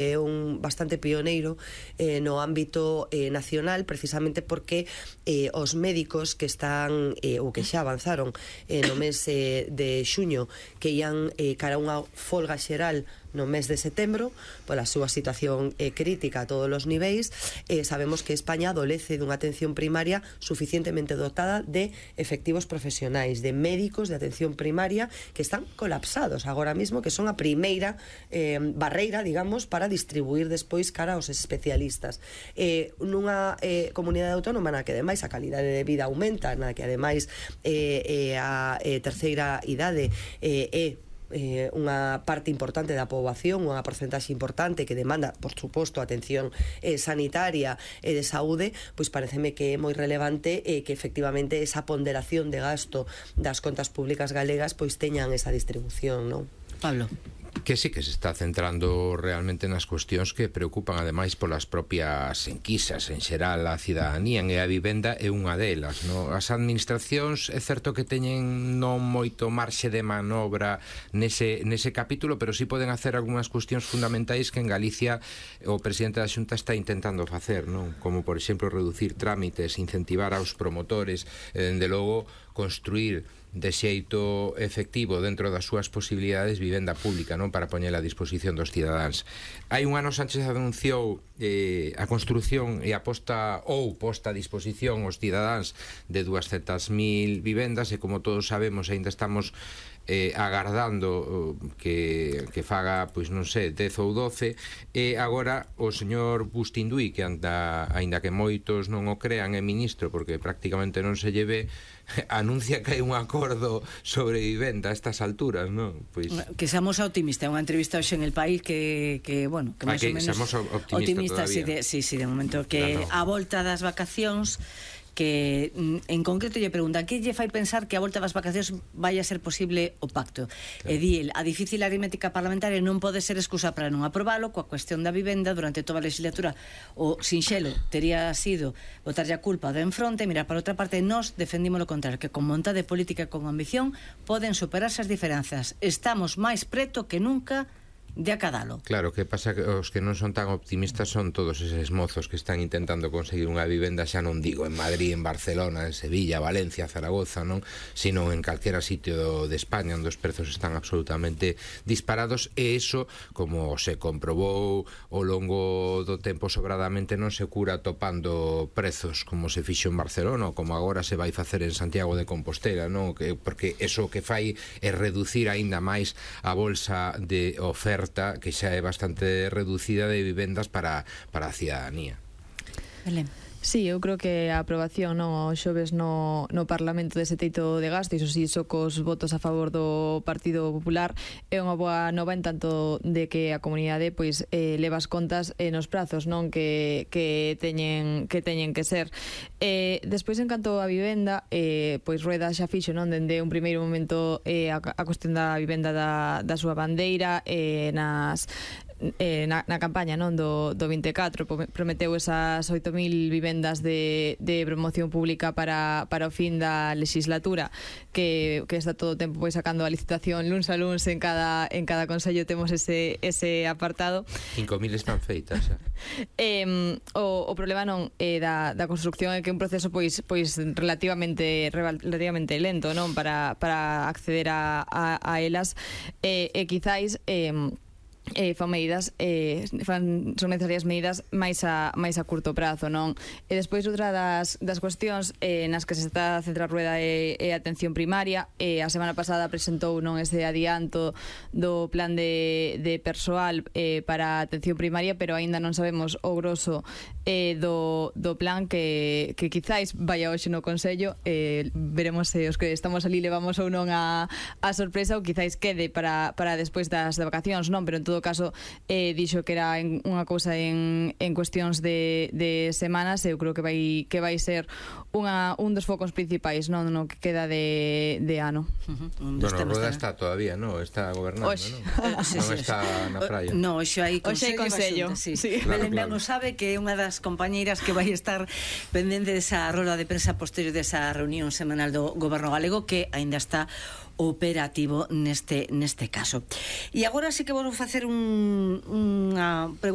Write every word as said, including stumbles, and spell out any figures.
é un bastante pioneiro eh, no ámbito eh, nacional, precisamente porque eh, os médicos que están eh, ou que xa avanzaron eh, no mes eh, de xuño, que ian eh, cara a unha folga xeral no mes de setembro, pola súa situación eh, crítica a todos os niveis, eh, sabemos que España adolece dunha atención primaria suficientemente dotada de efectivos profesionais, de médicos de atención primaria que están colapsados agora mesmo, que son a primeira eh, barreira, digamos, para distribuir despois cara aos especialistas. Eh, nunha eh, comunidade autónoma na que ademais a calidade de vida aumenta, na que ademais eh, eh, a eh, terceira idade eh, é Eh, unha parte importante da poboación, unha porcentaxe importante que demanda, por suposto, atención eh, sanitaria e eh, de saúde, pois pareceme que é moi relevante eh, que efectivamente esa ponderación de gasto das contas públicas galegas pois teñan esa distribución, non? Pablo. Que sí que se está centrando realmente nas cuestións que preocupan ademais polas propias enquisas en xeral a cidadanía, e a vivenda é unha delas, no? As administracións é certo que teñen non moito marxe de manobra nese, nese capítulo, pero sí poden hacer algunhas cuestións fundamentais que en Galicia o presidente da Xunta está intentando facer, non? Como por exemplo reducir trámites, incentivar aos promotores, e dende logo construir de xeito efectivo dentro das súas posibilidades vivenda pública, non, para poñela a disposición dos cidadáns. Hai un ano Sánchez anunciou eh, a construción e a posta ou posta a disposición aos cidadáns de duascentas mil vivendas, e como todos sabemos aínda estamos eh, agardando uh, que, que faga, pois non sei, dez ou doce, e agora o señor Bustinduí, que anda, aínda que moitos non o crean, é ministro porque prácticamente non se lleve, anuncia que hai un acordo sobre vivenda a estas alturas, non? Pois que seamos optimistas, é unha entrevista hoxe en El País que, que bueno, que máis ou menos seamos optimistas, optimista, sí, de, sí, sí, de momento que claro, a volta das vacacións, que en concreto lle preguntan que lle fai pensar que a volta das vacacións vai a ser posible o pacto, claro. E di el, a difícil aritmética parlamentaria non pode ser excusa para non aprobalo. Coa cuestión da vivenda durante toda a legislatura o sinxelo tería sido botarlle a culpa de enfronte, mirar para outra parte. Nós defendimos o contrario, que con vontade política e con ambición poden superarse as diferenzas. Estamos máis preto que nunca de acadalo. Claro, que pasa que os que non son tan optimistas son todos eses mozos que están intentando conseguir unha vivenda, xa non digo en Madrid, en Barcelona, en Sevilla, Valencia, Zaragoza, non, sino en calquera sitio de España onde os prezos están absolutamente disparados, e eso, como se comprobou ao longo do tempo sobradamente, non se cura topando prezos como se fixo en Barcelona ou como agora se vai facer en Santiago de Compostela, non? Que, porque eso que fai é reducir aínda máis a bolsa de oferta que xa é bastante reducida de vivendas para, para a cidadanía. Belén. Sí, eu creo que a aprobación non o xoves no, no Parlamento dese teito de gasto, iso sí, só cos votos a favor do Partido Popular, é unha boa nova en tanto de que a comunidade pois eh, leva as contas eh, nos prazos, non, que, que teñen que teñen que ser. Eh, despois, en canto a vivenda, eh, pois Rueda xa fixo, non, dende un primeiro momento eh, a, a cuestión da vivenda da, da súa bandeira, eh, nas Eh, na, na campaña, non, do, do vinte e catro prometeu esas oito mil vivendas de, de promoción pública para, para o fin da legislatura, que, que está todo o tempo pois sacando a licitación luns a luns en cada, en cada consello temos ese, ese apartado. Cinco mil están feitas xa. eh, o, o problema non é da, da construcción, é que é un proceso pois, pois relativamente relativamente lento, non, para, para acceder a, a, a elas, e, e quizáis eh, Eh, fan medidas eh, fan, son necesarias medidas máis a, máis a curto prazo, non? E despois outra das, das cuestións eh, nas que se está a centrar Rueda é, é a atención primaria. eh, a semana pasada presentou, non, ese adianto do plan de, de persoal eh, para a atención primaria, pero aínda non sabemos o grosso eh, do, do plan que, que quizáis vaya hoxe no Consello. eh, veremos se os que estamos ali levamos ou non a, a sorpresa, ou quizáis quede para, para despois das de vacacións, non? Pero en todo caso eh, dixo que era en, unha cousa en, en cuestións de, de semanas. Eu creo que vai que vai ser unha, un dos focos principais, non, no que queda de, de ano. Uh-huh. Bueno, Rueda está todavía, non? Está gobernando, Oxe. non? Sí, non sí, está sí. na praia. No, hoxe hai Consello, consello. Sí. Sí. Claro, Belén claro. Blano sabe que é unha das compañeiras que vai estar pendente desa roda de prensa posterior desa reunión semanal do Goberno galego, que aínda está operativo neste neste caso. E agora sí que vou facer un, unha pregunta